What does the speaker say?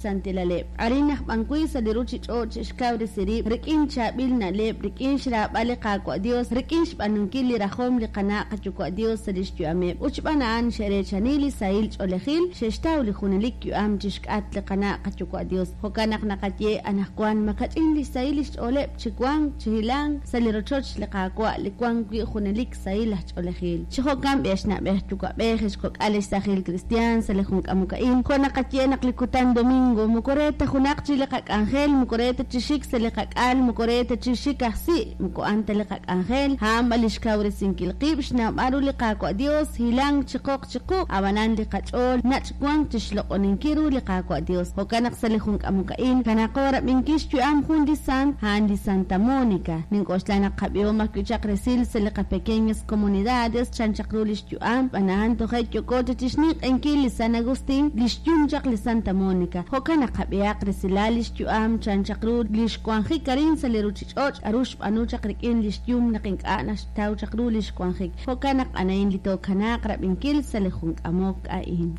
xsantilaleb'. Arin aj b'an wi' sa' li ruuchich'och' xe'xkawresi rib' rik'in chaab'il na'leb', rik'in xraab'al li Qaawa' Yos, rik'in xb'aanunkil li rajom li qana' qayuwa' Yos sa' li xyu'ameb'. Ut xb'aan a'an xe'reechani li sahil ch'oolejil, xe'xtaw li junelik yu'am chi xk'atq li qana' qayuwa' Yos. Jo'kan naq naqaye anaqwan makach'in li xsahil li xch'ooleb' chi wank chi hilank sa' li rochoch li Qaawa' li wank wi' junelik sahil aj ch'oolejil. Chi jo'kan b'i' ex na'b'ej yuwa'b'ej, ex kok'al, ex saajil kristiaan sa' li jun k'amok a'in, jo' naqaye naq li kutan domingo moko re ta junaq chi li qak'anjel, moko re ta chi xik sa' li qak'al, moko re ta chi xik aj si', moko a'an ta li qak'anjel, a'an b'an li xkawresinkil qib', xnawb'al ru li Qaawa' Dios, hilank chi qoq chi quq', a'b'anan li qach'ool nach' wank chixloq'oninkil ru li Qaawa' Dios. Jo'kan naq sa' li jun k'amok a'in, kanaqo rab'inkil xyu'am jun li sant, a'an li Santa Monica. Nink'oxla naq qab'ihom ajwi' chaq resil sa' li qapequeñas comunidades chan chaq ru lix yu'am, xb'aan a'an toje' yooko chaq chixninq'ehinkil li San Agustin, lix yum chaq li Santa Monica. Jo'kan naq qab'ihaq resilal lix yu'am chan chaq ru lix wanjik arin sa' li ruchich'och', k'a'ru xb'aanu chaq rik'in lix yum naq ink'a' naxtaw chaq ru lix wanjik. Jo'kan naq a'an a'in li tookanaaq rab'inkil sa' li jun k'amok a'in.